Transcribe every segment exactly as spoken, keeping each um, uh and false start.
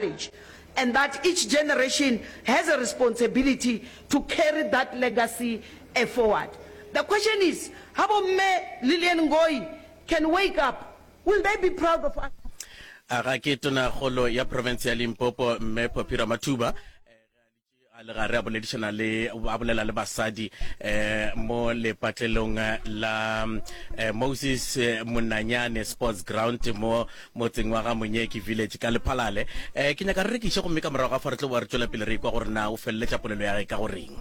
And that each generation has a responsibility to carry that legacy forward. The question is, ha bo Mme Lilian Ngoyi can wake up, will they be proud of us? A ga ke Tonakgolo ya profense ya Limpopo Mme Phophi Ramathuba a le gare a boledišana le a bolela le basadi eh mo lepatlelong la eh, Moses Monanyane Sports Ground mo motseng wa ga Monyeki Village ka Lephalale. Eh ke nyaka re rekiše gomme ka morago ga fa re tlo boa re tšwela pele re ikwa gore na o feleletša polelo ya gage ka go reng.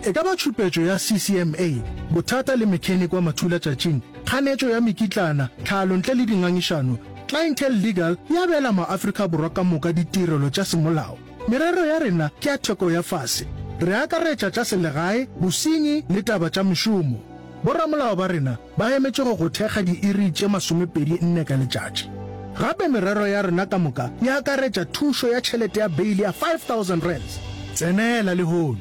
E ka ba tšhupetšo ya C C M A, bothata le mechanic wa mathulatšatšing, kganetšo ya mekitlana, tlhalo ntle le dingangišano, Clientele Legal e abela maAfrika Borwa ka moka ditirelo tša semolao. Merero ya rena ke ya theko ya fase. Re akaretša tša selegae, bosenyi le taba tša mešomo. Boramolao ba rena ba emetše go go thekga diiri tše masomepedi nne ka letšatši. Gape merero ya rena ka moka e akaretša thušo ya tšhelete ya beili ya five thousand rands. Tsenela lehono.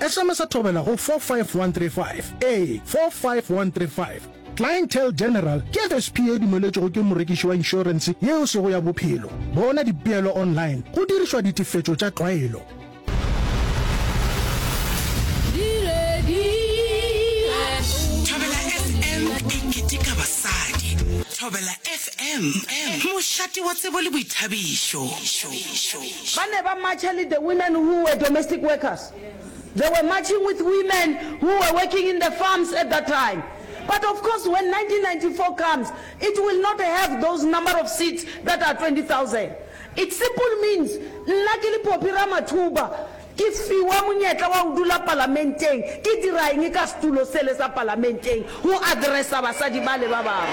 S M S Thobela go four five one three five. Ee, four five one three five. Clientele General ke F S P ye dumeletšwego ke morekiši wa inšorense yeo e sego ya bophelo. Bona dipeelo online go dirišwa ditefetšo tša tlwaelo. Thobela F M e keteka basadi. Thobela F M, mošate wa tsebo le boithabišo. Ba ne ba marcha le the women who were domestic workers. They were marching with women who were working in the farms at that time. But of course when nineteen ninety four comes, it will not have those number of seats that are twenty thousand. It simple means nna ke le Phophi Ramathuba ke fiwa monyetla wa go dula palamenteng, ke dira eng ka setulo sele sa palamenteng go addressa basadi bale ba bangwe?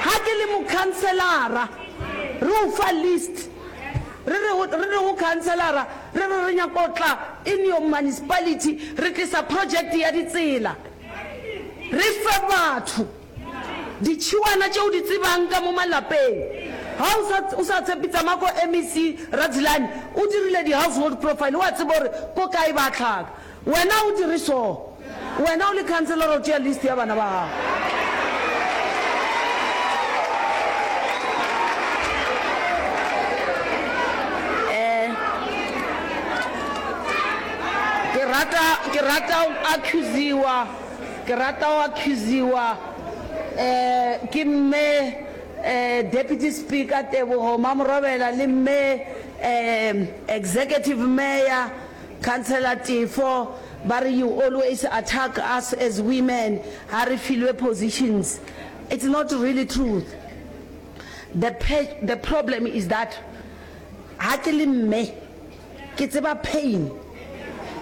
Ha ke le mokhanselara re o fa list, re re re re go khanselara re re re nyaka go tla in your municipality, re tlisa project ya ditsela, re fe batho ditšhiwana tše o di tsebang ka mo malapeng. Ga o sa o sa tshepe, tsamaya ko M E C Radzilani, o dirile di-household profile, o a tseba gore ko kae ba hlaka. Wena o dire so, wena o le councillor o tšea list ya bana ba gago. Eh, ke rata ke rata go accusiwa ke rata go accusiwa eh ke mme eh Deputy Speaker Tebogo Mamorobela le mme eh Executive Mayor Councillor Tefo, ba re you always attack us as women ha re filwe positions. It's not really truth. The the problem is that ha ke le mme ke tseba pain.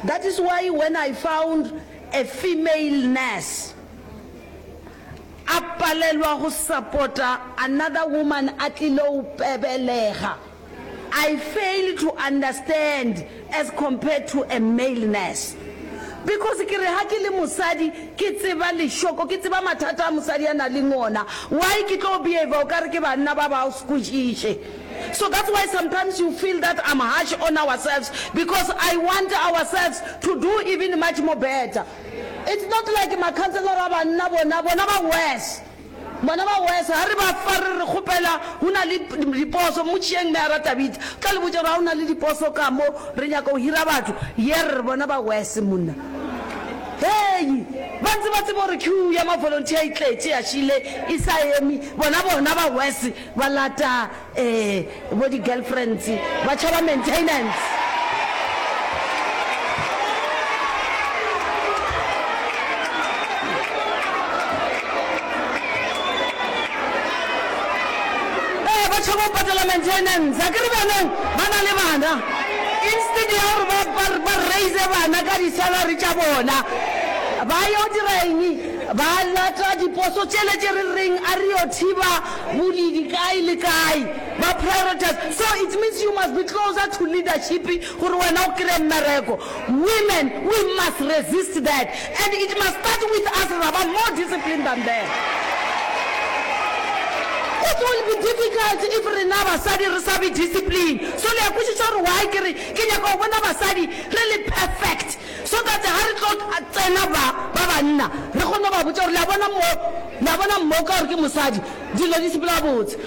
That is why when I found a female nurse a palelwa go support-a another woman a tlile go belega, I fail to understand as compared to a male nurse, because ke re ha ke le mosadi ke tseba lešoko, ke tseba mathata a mosadi a na leng ona, why ke tlo behave o kare ke banna ba ba o sekwešiše? So that's why sometimes you feel that I'm harsh on ourselves, because I want ourselves to do even much more better. It's not like makhanselara a banna bona bona ba worse, bona ba worse. Ga re ba fa re re kgopela go na le diposo, mmotšišeng Meyara Tabitha, o tla le botša gore ga go na le diposo ka mo re nyaka go hira batho. Yerr, bona ba worse monna. Hei, ba ntse ba tseba gore queue ya ma-volunteer e tletše ya šile e sa eme, bona bona ba worse, ba lata um bo di-girlfriends, ba tšhaba maintenance. Ee, ba tšhaba go patela maintenance. A ke re bjanong ba na le bana, instead ya gore ba, ba, ba raise bana ka di-salary tša bona, ba yo dira eng? Ba lata diposo tšele tše re reng a re yo thiba bodidi kae le kae, ba prioritize. So it means you must be closer to leadership gore wena o kry-e mmereko. Women, we must resist that, and it must start with us, ra ba more disciplined than them. It will be difficult if rena basadi re sa be discipline. So le a kwešiša gore why ke re ke nyaka go bona basadi re le perfect so that ga re tlo tsena ba ba banna re kgone go ba botša gore le a bona mo, le a bona mo ka gore ke mosadi dilo di sepela botse.